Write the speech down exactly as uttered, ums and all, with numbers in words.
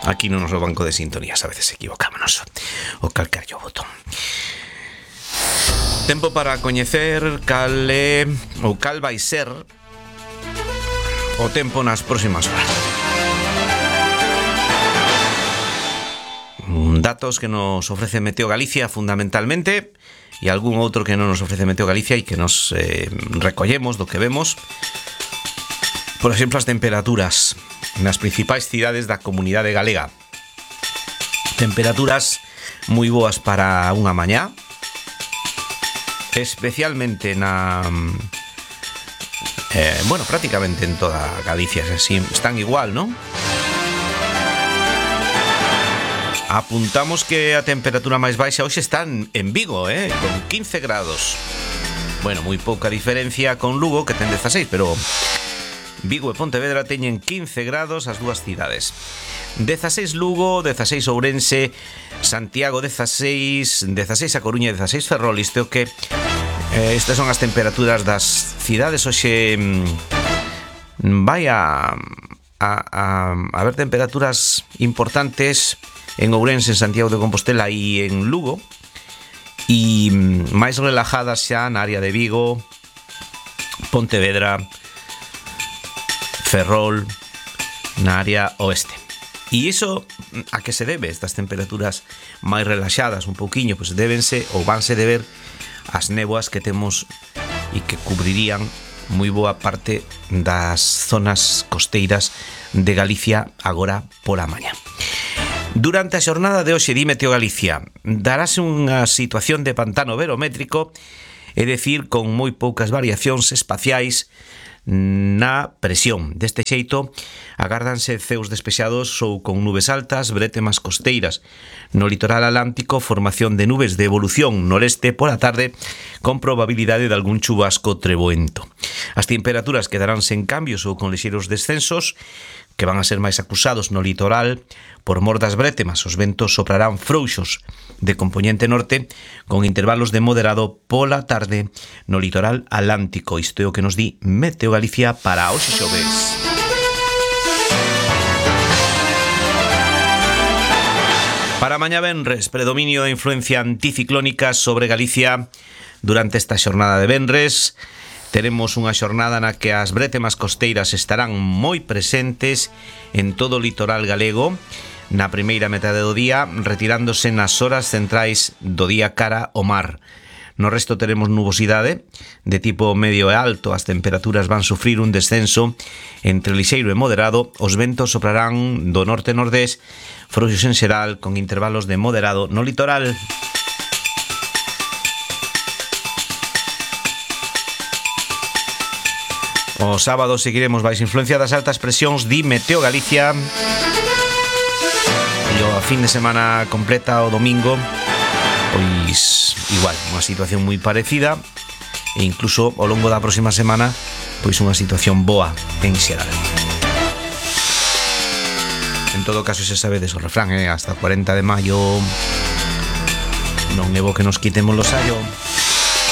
aquí no noso banco de sintonías a veces equivocámonos o calcar yo botón. Tempo para coñecer cal é ou cal vai ser o tempo nas próximas horas. Datos que nos ofrece Meteo Galicia fundamentalmente e algún outro que non nos ofrece Meteo Galicia e que nos eh, recollemos do que vemos. Por exemplo, as temperaturas nas principais cidades da comunidade galega. Temperaturas moi boas para unha mañá, especialmente na eh, bueno, prácticamente en toda Galicia así, están igual, non? Apuntamos que a temperatura máis baixa hoxe está en Vigo, eh, con quince grados. Bueno, moi pouca diferencia con Lugo, que ten dezaseis, pero Vigo e Pontevedra teñen quince grados as dúas cidades. dezaseis Lugo, dezaseis Ourense, Santiago dezaseis, dezaseis a Coruña, dezaseis Ferrol. Isto que eh, estas son as temperaturas das cidades. Hoxe mm, vai a, a, a, a haber temperaturas importantes en Ourense, en Santiago de Compostela e en Lugo, e máis relajadas xa na área de Vigo, Pontevedra, Ferrol, na área oeste. E iso a que se debe estas temperaturas máis relaxadas un pouquiño? Pois débense ou vanse deber as néboas que temos e que cubrirían moi boa parte das zonas costeiras de Galicia agora pola mañá. Durante a xornada de hoxe, di Meteo Galicia, darase unha situación de pantano barométrico, é dicir, con moi poucas variacións espaciais na presión. Deste xeito, agárdanse ceos despexados ou con nubes altas, brétemas costeiras. No litoral atlántico, formación de nubes de evolución noreste pola tarde, con probabilidade de algún chubasco treboento. As temperaturas quedarán sen cambios ou con lixeiros descensos, que van a ser máis acusados no litoral por mor das brétemas. Os ventos soprarán frouxos de compoñente norte con intervalos de moderado pola tarde no litoral atlántico. Isto é o que nos di Meteo Galicia para hoxe xoves. Para mañá venres, predominio de influencia anticiclónica sobre Galicia durante esta xornada de venres. Teremos unha xornada na que as brétemas costeiras estarán moi presentes en todo o litoral galego na primeira metade do día, retirándose nas horas centrais do día cara ao mar. No resto teremos nubosidade de tipo medio e alto. As temperaturas van sufrir un descenso entre lixeiro e moderado. Os ventos soprarán do norte-nordés, frouxos en xeral, con intervalos de moderado no litoral. O sábado seguiremos baixo influencia das altas presións, di Meteo Galicia. E o fin de semana completa, o domingo, pois igual, unha situación moi parecida, e incluso ao longo da próxima semana, pois unha situación boa en xeral. En todo caso, se sabedes o refrán, eh? Hasta cuarenta de maio non é bo que nos quitemos los sallo.